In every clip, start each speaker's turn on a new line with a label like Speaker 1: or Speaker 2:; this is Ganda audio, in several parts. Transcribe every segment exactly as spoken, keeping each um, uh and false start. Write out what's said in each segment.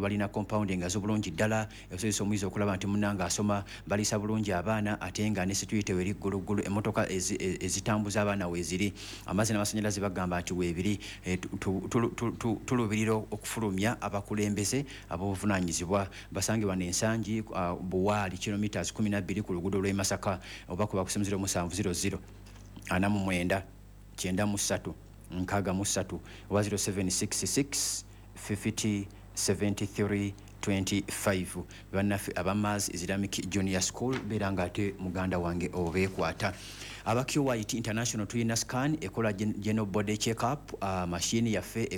Speaker 1: Balina compound nga z'obulungi ddala, esobozesa omuyizi okulaba nti munnange asoma. Baliisa bulungi abaana, ate nga ne security weri gguluggulu. Emmotoka ezitambuza abaana weeziri, amazzi n'amasannyalaze bagamba nti weebiri. eh, Tuluubirira okufulumya abakulembeze ab'obuvunaanyizibwa. Basangibwa n'ensangi uh, Buwaali, kilometers kumi na bbiri ku luguudo lw'e Masaka, oba kuba ku zero musanvu zero zero ana mu mwenda kyenda mu ssatu nkaaga mu ssatu oba zero seven six six fifty seventy-three twenty-five. Bannaffe aba Mars Islamic Junior School, beera nga ate muganda wange obeekwata. Aba Q Y T International, tulina scan ekola general body check up, uh, mashini yaffe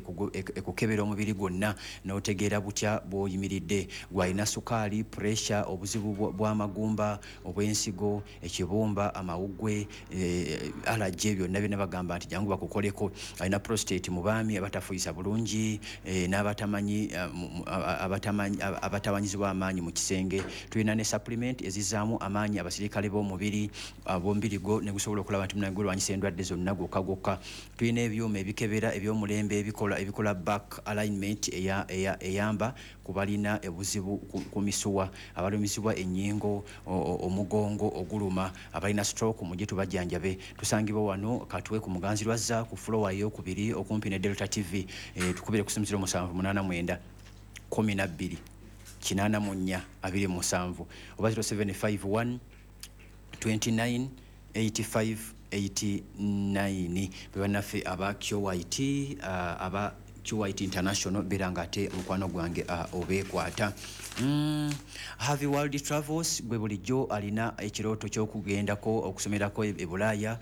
Speaker 1: ekukebera omubiri gwonna n'otegeera butya bw'oyimiridde. Gwalina sukaali, pressure, obuzibu bw'amagumba, obw'ensigo, ekibumba, amawuggwe, eh, allergy, byonna byonna bagamba nti jangu bakukoleko. Alina prostate mu baami abatafuyisa bulungi, eh, n'abatamanyi uh, abatawanyizibwa amaanyi mu kisenge. Tulina ne supplement ezizaamu amaanyi abasirikale b'omubiri ab'omubiri gwo ne gusobola okulaba nti munange gulwanyisa endwadde zonna gwokka gwokka. Tulina ebyuma ebikebera eby'omulembe ebikola ebikola back alignment eyamba ku balina obuzibu ku misuwa, abalumizibwa ennyingo, omugongo oguluma, abalina stroke, mujje tubajjanjabe. Tusangibwa wano Katwe ku Muganzi Lwazza ku floor eyokubiri okumpi ne Delta T V. e, tukubire ku simu zero musanvu munaana mwenda kumi na bbiri kinaana mu nnya abiri musanvu oba zero seven five one twenty-nine eighty-five eighty-nine. Be bannaffe aba Q Y T, uh, aba Q Y T International, beera nga ate mukwano gwange uh, obeekwata. mm, Harvey World Travels, gwe bulijjo alina ekirooto ky'okugendako okusomerako e Bulaaya,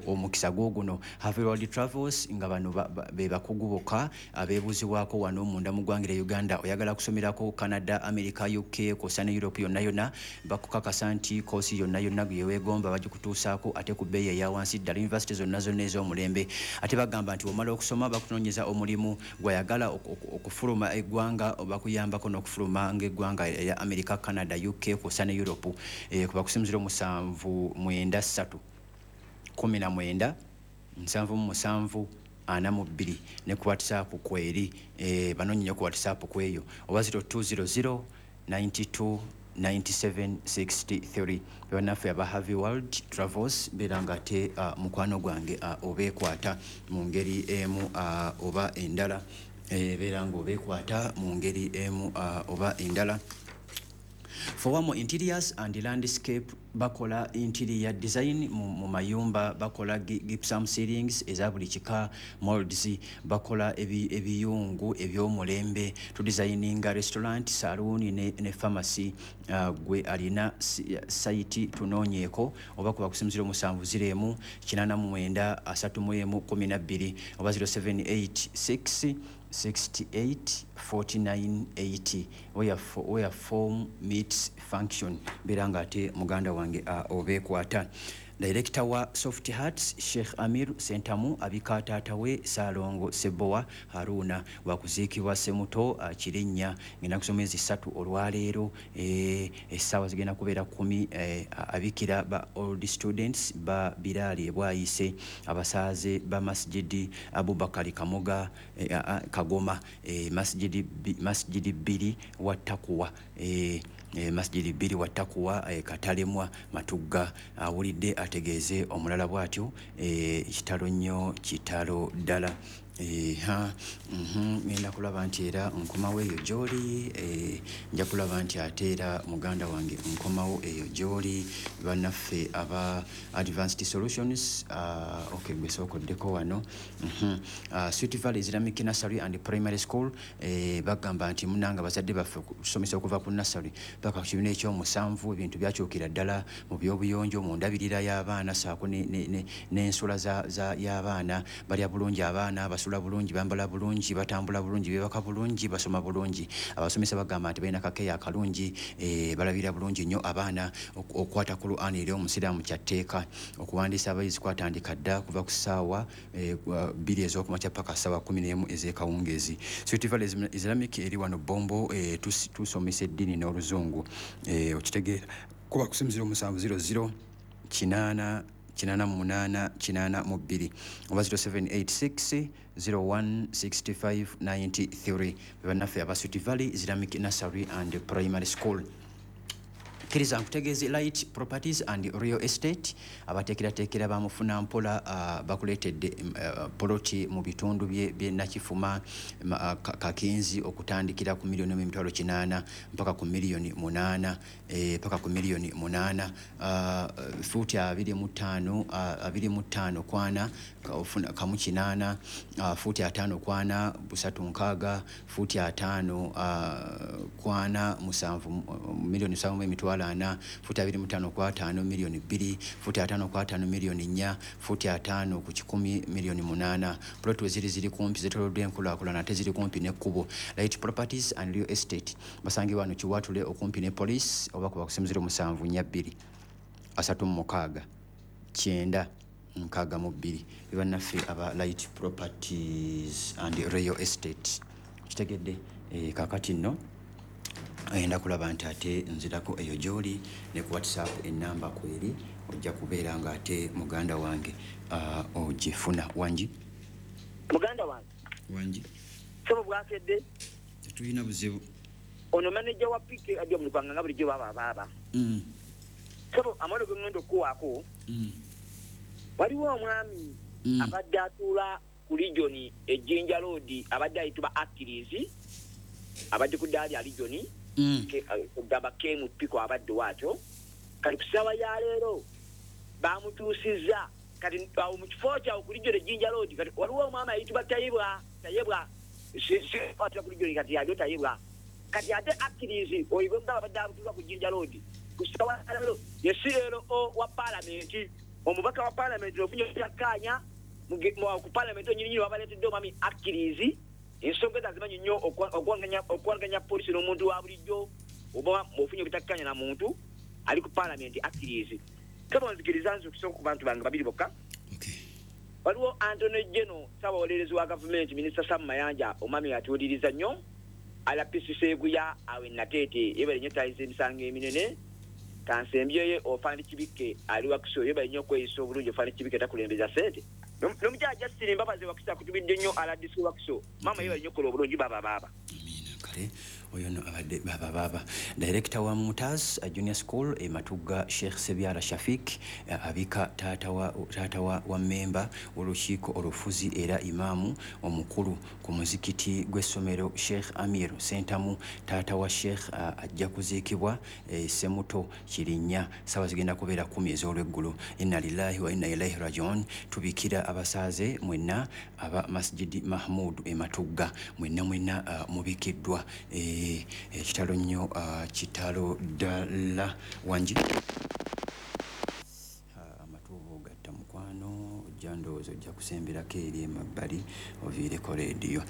Speaker 1: omukisa gwo guno. Harvey World Travels, nga bano be bakugu bokka abeebuuzibwako wano munda mu ggwanga lya Uganda. Oyagala kusomerako Canada, America, U K kwossa ne Europe yonna yonna, bakukakasa nti koosi yonna yonna gye weegomba bagikutuusaako, ate ku bbeeyi eya wansi ddala. University zonna zonna ez'omulembe, ate bagamba nti bw'omala okusoma bakunoonyeza omulimu. Gwayagala okufuluma eggwanga, bakuyambako n'okufuluma ng'eggwanga erya America, Canada, U K kwossa ne Europe. eh, kuba ku simu zero musanvu mwenda ssatu kumi na mwenda nsanvu mu musanvu ana mu bbiri, ne ku WhatsApp kweri, eh, banoonye nnyo ku WhatsApp kweyo, oba zero two zero zero ninety-two ninety-seven sixty-three. Bannaffe aba Harvey World Travels, beera nga ate uh, mukwano gwange uh, obeekwata mu ngeri emu uh, oba endala. eh, beera nga obeekwata mu ngeri emu uh, oba endala. Fowamo Interiors and Landscape, bakola interior design mu, mu mayumba, bakola gypsum ceilings eza buli kika, molds, bakola ebiyungu eby'omulembe, tudesigninga restaurant, saloon ne, ne pharmacy. uh, gwe alina site, tunoonyeeko oba kuba ku simu zero musanvu zero emu kinaana mu mwenda asatu mu emu kumi na bbiri oba zero seven eight six sixty-eight forty-nine eighty. where, where form meets function, beera nga ate muganda wange uh, obeekwata. Director wa Soft Hearts, Sheikh Amir Sentamu, abika taata we Saalongo Sebowa Haruna, wakuziikibwa Semuto uh, Kirinnya ngenda kusoma ezi ssatu olwaleero, eh, essaawa zigenda kubeera kumi. eh, abikira ba old students ba Biraali ebwayise, abasaaze ba Masjidi Abubakari Kamoga, eh, Kagoma, eh, masjidi, masjidi bbiri wa Takuwa, eh, eh, masjidi bbiri wa Takuwa, eh, Katalemwa, Matugga. Awulidde ategeeze omulala bw'atyo. eh, kitalo nnyo, kitalo ddala. Ha, mhm, ngenda kulaba nti era nkomawo eyo gy'oli. eh, nja kulaba nti ate era muganda wange nkomawo eyo gy'oli. Bannaffe aba Advanced Solutions, uh, okay, gwe sookoddeko wano. mm -hmm. uh, Sweet Valley Islamic Nursery and Primary School, eh, bagamba nti munanga bazadde baffe kusomesa okuva ku nursery paka ku kibiina ekyomusanvu. Ebintu byakyukira ddala mu byobuyonjo, mu ndabirira y'abaana saako n'ensula y'abaana. Balya bulungi abaana, basula bulungi, bambala bulungi, batambula bulungi, bebaka bulungi, basoma bulungi. Abasomesa bagamba nti balina kakeya akalungi, eh, balabira bulungi nnyo abaana. Okukwata Qur'an eri omusiraamu kyatteeka. Okuwandiisa abayizi kwatandika dda kuva ku ssaawa eh, bbiri ez'okumakya paka ssaawa kumi n'emu ez'ekawungeezi. Sweet Valley Islamic eri wano Bombo. eh, tusomesa eddiini n'oluzungu. Okitegeera, kuba ku simu zero musanvu zero zero kinaana kinana munana kinana mu bbiri oba zero seven eight six zero one six five nine three. Bannaffe aba Sweet Valley Islamic Nursery and Primary School. Kkiriza nkutegeeze Light Properties and Real Estate abateekerateekera bamufuna mpola uh, bakuleetedde uh, poloti mu bitundu bye Nakifuma uh, Kakinzi okutandikira ku miliyoni emitwalo kinaana mpaka ku miliyoni munaana eh, mpaka ku miliyoni munaana uh, fuuti abiri mu ttaano uh, abiri mu ttaano kwana kamu kinaana uh, fuuti ataano kwana busatu nkaaga fuuti ataano uh, kwana musanvu miliyoni musanvu mu emitwalo ana futi abiri mu ttaano ku ataano miliyoni bbiri futi ataano ku ataano miliyoni nnya futi ataano ku kikumi miliyoni munaana. Plot ziri ziri kumpi zeetooloddwa enkulaakulana ate ziri kumpi n'ekkubo. Light Properties and Real Estate basangibwa wano Kiwatule okumpi ne police oba kuba ku zero musanvu nnya bbiri asatu mu mukaaga kyenda nkaaga mu bbiri. Bannaffe aba Light Properties and Real Estate kitegedde. E, kaakati nno ayenda kulaba nti ate nzirako eyo gy'oli ne ku WhatsApp ennamba kweri ojja kubeera nga ate muganda wange uh, ogifuna. Wangi
Speaker 2: muganda wange
Speaker 1: wangi
Speaker 2: sebo bwakedde
Speaker 1: tetulina buzibu.
Speaker 2: Ono manager wa P K ajja mulupanga nga bulijjo baba baba
Speaker 1: mm.
Speaker 2: Sebo amalo ge ngendo okuwaako
Speaker 1: mm.
Speaker 2: Waliwo omwami
Speaker 1: mm.
Speaker 2: abadde atuula ku region e Jinja Road abadde ayitibwa Achilles abadde ku ddaali ya region
Speaker 1: Mm.
Speaker 2: Kugamba K M Piko abadde waakyo kati ku ssaawa ya leero bamutuusizza kati awo mu kifo kyawo ku region e Jinja Road. Kati waliwo omwami ayitibwa Tayebwa Tayebwa atula ku region kati yalyo Tayebwa kati ate Achilles oyo bwe mugamba abadde atuula ku Jinja Road ku ssaawa ya leero ye C L O wa paalamenti omubaka wa paalamenti ofunye obutakkaanya ku paalamenti onyininyini wabaleetedde omwami Achilles. Ensonga ezo azimanyi nnyo okuwanganya poliisi n'omuntu wa bulijjo oba ofunye obutakkaanya na muntu ali ku paalamenti Achilles. Kaba nzikiriza nze okusooka ku bantu bange babiri bokka. Waliwo Anthony Geno ssaabawolerezi wa gavumenti minisita Sam Mayanja omwami atuwuliriza nnyo R P C Seguya awe Nateete yebale nnyo tayiza emisango eminene kansembyeyo Ofandi Kibikke ali Wakiso yebale nnyo okweyisa obulungi. Ofandi Kibikke takulembeza ssente n'omukyala Justin Mbabazi Wakiso akutubidde nnyo R D C Wakiso maama yebale nnyo okukola obulungi baba baba.
Speaker 1: Amiina. Kale oyo nno abadde baba baba. Director wa Mumtaz Junior School e Matugga Sheikh Sebyala Shafik abika taata wa taata wa, wa memba w'olukiiko olufuzi era imaamu omukulu ku muzikiti gw'essomero Sheikh Amir Sentamu taata wa Sheikh uh, ajja kuziikibwa e, Semuto Kirinnya ssaawa zigenda kubeera kumi ez'olweggulo. Inna lillahi wa inna ilaihi rajiun. Tubikira abasaaze mwenna aba Masjidi Mahmud e Matugga mwenna mwenna uh, mubikiddwa. E, kitalo nnyo uh, kitalo ddala. Wangi amatuubo gatta mukwano ojja ndowooza ojja kusemberako eri emabbali oviireko leediyo.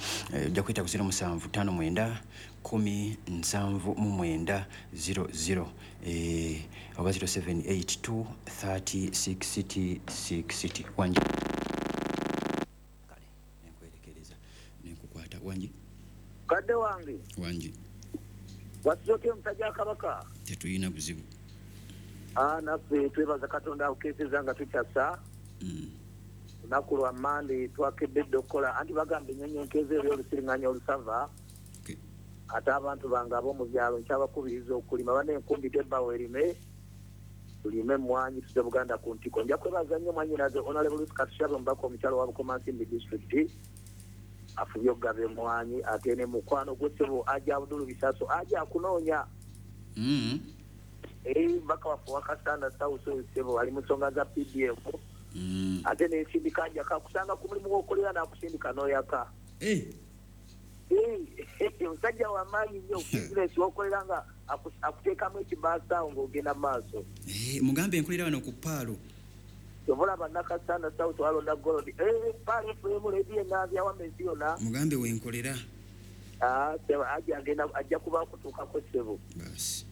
Speaker 1: Ojja kuyita ku zero musanvu ttaano mwenda kumi nsanvu mu mwenda zero zero eh, oba zero seven eight two thirty sixty sixty. Wangi kale nenkwerekereza nenkukwata. Wangi
Speaker 2: kadde wange
Speaker 1: wangi
Speaker 2: wasooke omusajja wa Kabaka
Speaker 1: tetulina buzibu.
Speaker 2: Ah, naffe twebaza Katonda akukeeseza nga tukyasa
Speaker 1: mm.
Speaker 2: Lunaku lwa Mmande twakedde dda okukola anti bagamba ennyonyi enkeeza eri olusiringanya olusava.
Speaker 1: Okay.
Speaker 2: Ate abantu bange ab'omu byalo nkyabakubiriza okulima bana enkumbi tebbawo erime tulime emmwanyi tuze Buganda ku ntiko. Nja kwebaza nnyo mwannyinaze Honorable Ruth Katushabe omubaka omukyalo wa Bukomansimbi disitulikiti afubye okugaba emmwanyi ate ne mukwano gwe ssebo Aja Abdul Bisaso aja akunoonya.
Speaker 1: Mm.
Speaker 2: Eh, mbaka waffe wa Kasanda South oyo ssebo ali mu nsonga za P D M.
Speaker 1: Mm.
Speaker 2: Ate n'ensindika njaka akusanga ku mulimu gw'okolera n'akusindika n'oyaka.
Speaker 1: Eh.
Speaker 2: Eh, omusajja wa maanyi nnyo bizinesi w'okolera nga akuteekamu ekibaasa awo ng'ogenda mu maaso.
Speaker 1: Eh, mugambe enkolera wano ku Paalo.
Speaker 2: Obola Nakasanda South walonda Gold. Eh, Paalo F M radio enaabya wamma ensi yonna.
Speaker 1: Mugambe wenkolera.
Speaker 2: Ah, ssebo ajja agenda ajja kuba akutuukako ssebo.
Speaker 1: Basi.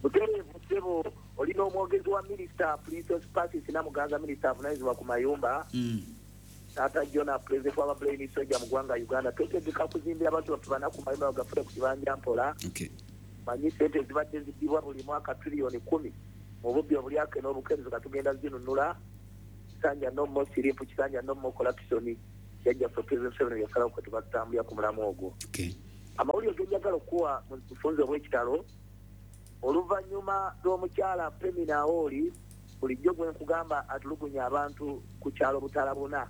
Speaker 2: Butereevu ssebo olina omwogezi wa minisita Princess Patrice Namuganza minisita avunaanyizibwa ku mayumba.
Speaker 1: Mm.
Speaker 2: Taata Jona president wa Brain Soldier mu ggwanga Uganda twetegeka kuzimbira abantu baffe bana ku mayumba bagafune ku kibanja mpola.
Speaker 1: Okay.
Speaker 2: Manyi ssente zibadde ziddibwa buli mwaka triliyoni kumi mu bubbi obulyake n'obukeerezo katugenda zinunula.
Speaker 3: Kisanja no more siripu, Kisanja no more corruption. Jajja for President Museveni yasalawo kwe tubatambulira ku mulamu ogwo.
Speaker 1: Okay.
Speaker 3: Amawulire ge njagala okuwa mu bufunze obw'ekitalo, oluvannyuma lw'omukyala Pemina Aoli, bulijjo gwe nkugamba atulugunya abantu ku kyalo Butalabuna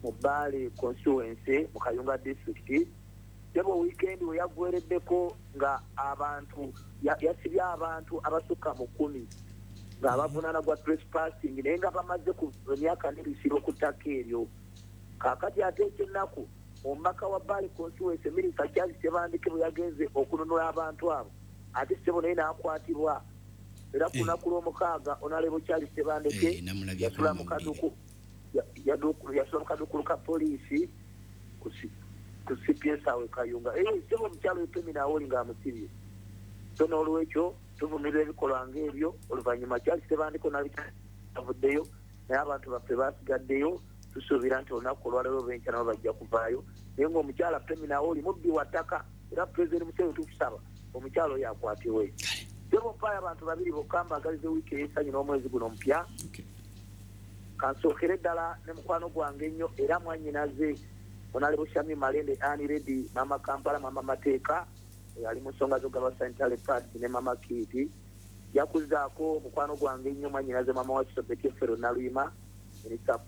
Speaker 3: mu Bbaale constituency mu Kayunga district, sebo weekend we yaggwereddeko nga abantu yasibye abantu abasukka mu kkumi nga abavunaana gwa trespassing, naye nga bamaze ku emyaka n'ebisibo ku ttaka eryo. Kaakati ate ekyennaku, omubaka wa Bbaale constituency Minisita Charles Tebandeke bwe yagenze okununula abantu abo, ate ssebo naye n'akwatibwa. Era ku lunaku lw'omukaaga Honorable Charles Tebandeke yasula mu kaduku yasula mu kaduukulu ka poliisi ku C P S awe Kayunga. Eh, ssebo omukyala Pemina Aoli ng'amusibye. So n'olwekyo tuvumirira ebikolwa ng'ebyo. Oluvannyuma Charles Tebandeke n'avuddeyo, naye abantu baffe basigaddeyo. Tusuubira nti olunaku olwaleero olw'enkya nabo bajja kuvaayo, naye ng'omukyala Pemina Aoli mubbi wa ttaka, era Pulezidenti Museveni tukusaba omukyala oyo akwatibwe. Sebo mpaayo abantu babiri bokka mbaagalize wiiki ey'essanyu n'omwezi guno omupya. Kansookere ddala ne mukwano gwange ennyo era mwannyinaze Honorable Shami Malende Annie Reddy, Mama Kampala, Mama Mateeka, ali mu nsonga z'okugaba sanitary pads ne Mama Kiti. Yakuzaako mukwano gwange ennyo mwannyinaze Mama wa Kisobeti Fero Naluyima, minisita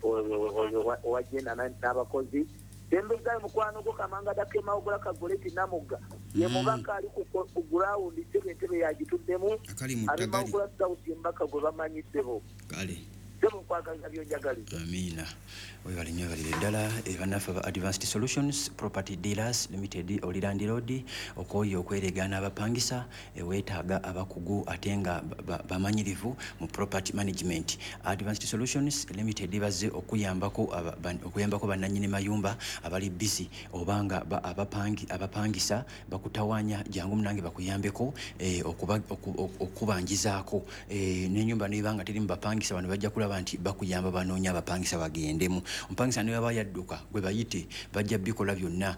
Speaker 3: owa genda n'abakozi. Tembezaayo mukwano gwo Kamanga Dakema Ogola Kagoleti Namugga, ye mubaka ali ku gurawundi ssebo, entebe yagituddemu, ali Mawogola South mbaka gwe bamanyi ssebo.
Speaker 1: Amina. Webale nnyo, webalire ddala bannaffe aba Advanced Solutions Property Dealers Limited, oli landlord okwoyo okweregaana abapangisa, weetaaga abakugu ate nga bamanyirivu mu property management. Advanced Solutions Limited bazze okuyambako okuyambako bannannyini mayumba abali busy oba nga abapangi abapangisa bakutawaanya, jangu munange bakuyambeko okubanjizaako n'ennyumba n'eba nga teri mu bapangisa. Bano bajja kulaba nti bakuyamba banoonya abapangisa bagendemu. Omupangisa ne baba yadduka gwe bayite, bajja bikola byonna,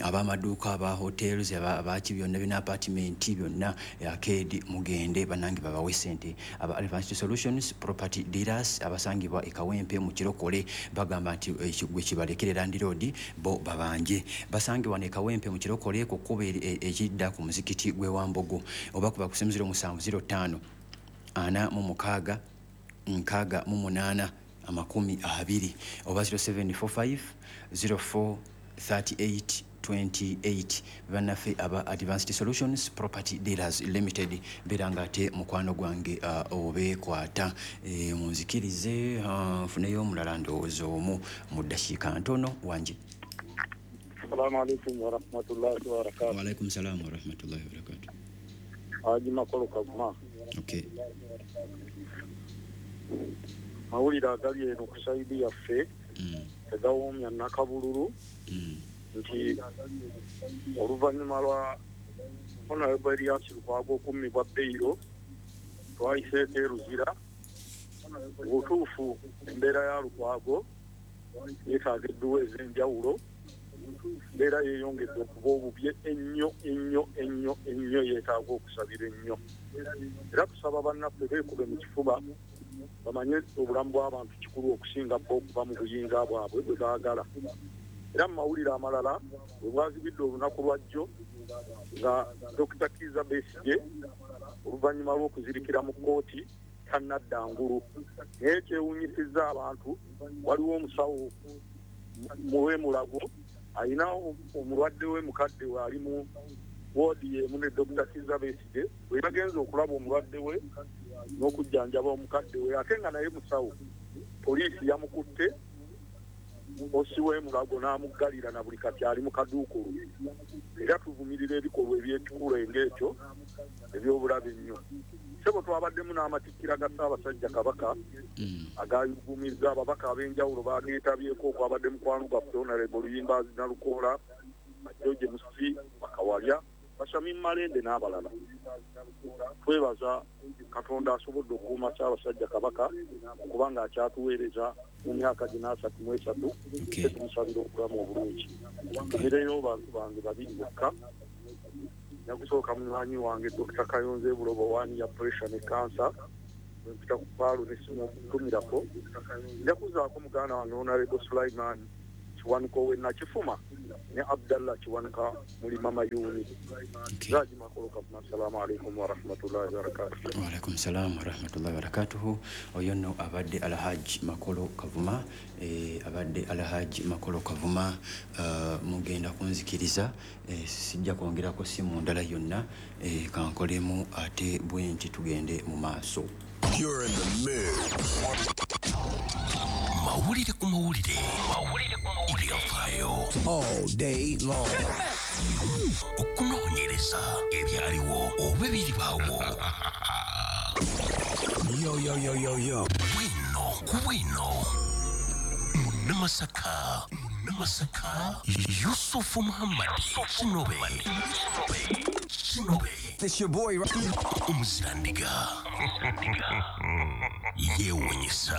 Speaker 1: ab'amaduuka, aba hotels, abaki byonna bina apartment byonna, arcade, mugende bannange babawe ssente. Aba Advanced Solutions Property Dealers abasangibwa e Kawempe mu Kirokole bagamba nti gwe kibalekere landlord bo babanje. Basangibwa ne Kawempe mu Kirokole ku kkubo ekidda ku muzikiti gw'e Wambogo, oba kuba ku simu ziro musanvu ziro ttaano ana mu mukaaga nkaaga mu munaana amakumi abiri oba zero seven four five zero four thirty eight twenty eight. Bannaffe aba Advanced Solutions Property Dealers Limited, beera nga ate mukwano gwange obeekwata. Munzikirize nfuneyo omulala ndowooza omu mu ddakiika ntono. Wangi.
Speaker 4: Assalamu alaikum warahmatullahi wabarakatuh.
Speaker 1: Wa alaikum salam warahmatullahi wabarakatuh.
Speaker 4: Haji Makolo Kaguma.
Speaker 1: Okay.
Speaker 4: Mawulire agali eno ku sayidi yaffe tegawoomya Nakabululu nti oluvannyuma lwa Honorable Erias Lukwago okummibwa beyiro, twayiseeko e Luzira. Obutuufu embeera ya Lukwago yeetaaga edduwa ez'enjawulo. Embeera yeeyongedde okuba obubi ennyo ennyo ennyo ennyo, yeetaaga okusabira ennyo. Era tusaba bannaffe beekube mu kifuba, bamanye obulamu bw'abantu kikulu okusinga bo okuva mu buyinza bwabwe bwe baagala. Era mu mawulire amalala, bwe bwazibidde olunaku lwajjo nga Dokita Kizza Besigye oluvannyuma lw'okuzirikira mu kkooti tannadda ngulu. Naye kyewuunyisizza abantu, waliwo omusawo muwemulago alina omulwadde we mukadde we ali mu woodi y'emu ne Dokita Kizza Besigye, bwe yagenze okulaba omulwadde we n'okujjanjaba omukadde we ate nga naye musawo, poliisi yamukutte osi w'emulago n'amuggalira na buli kati ali mu kaduukulu. Era tuvumirira ebikolwa eby'ekikulu ng'ekyo eby'obulabe ennyo. Ssebo twabaddemu n'amatikkira ga Ssaabasajja Kabaka agayugumizza ababaka ab'enjawulo bageetabyeko, okwabadde mukwano gwaffe Honorable Luyimbazi Nalukoola, George Musisi Bakawalya, Bashamim Malende n'abalala. Twebaza Katonda asobodde okukuuma Ssaabasajja Kabaka okubanga akyatuweereza mu myaka gino asatu mu esatu, tumusabira obulamu obulungi. Ntumireyo bantu bange babiri bokka. Nyakusooka munywanyi wange Dokita Kayonze Bulobo wani ya pressure ne cancer, Mpita ku Paalu nesimutumirako. Nja kuzaako muganda wange Honorable Sulaiman Kiwanuka we Nakifuma ne Abdallah Kiwanuka muli Mama Yuni. Zaji Makolo Kavuma, assalamu alaikum wa rahmatullahi wa barakatuh.
Speaker 1: Wa alaikum salam wa rahmatullahi wa barakatuh. Oyo nno abadde Alhaji Makolo Kavuma, eh, abadde Alhaji Makolo Kavuma. uh, mugenda kunzikiriza, eh, sijja kwongerako simu ndala yonna, eh, kankolemu ate bwe nti tugende mu maaso.
Speaker 5: You're in the mix.
Speaker 6: Mawulire ku mawulire. Mawulire ku mawulire. Ebyafaayo.
Speaker 5: All day long.
Speaker 6: Okunoonyereza ebyaliwo oba ebiribaawo.
Speaker 5: Yo, yo, yo, yo, yo.
Speaker 6: Bwino ku bwino. Munnamasaka. Munnamasaka. Yusufu Muhammad. Kinobe. Kinobe.
Speaker 5: It's your boy.
Speaker 6: Omuzirandiga. Yeewuunyisa.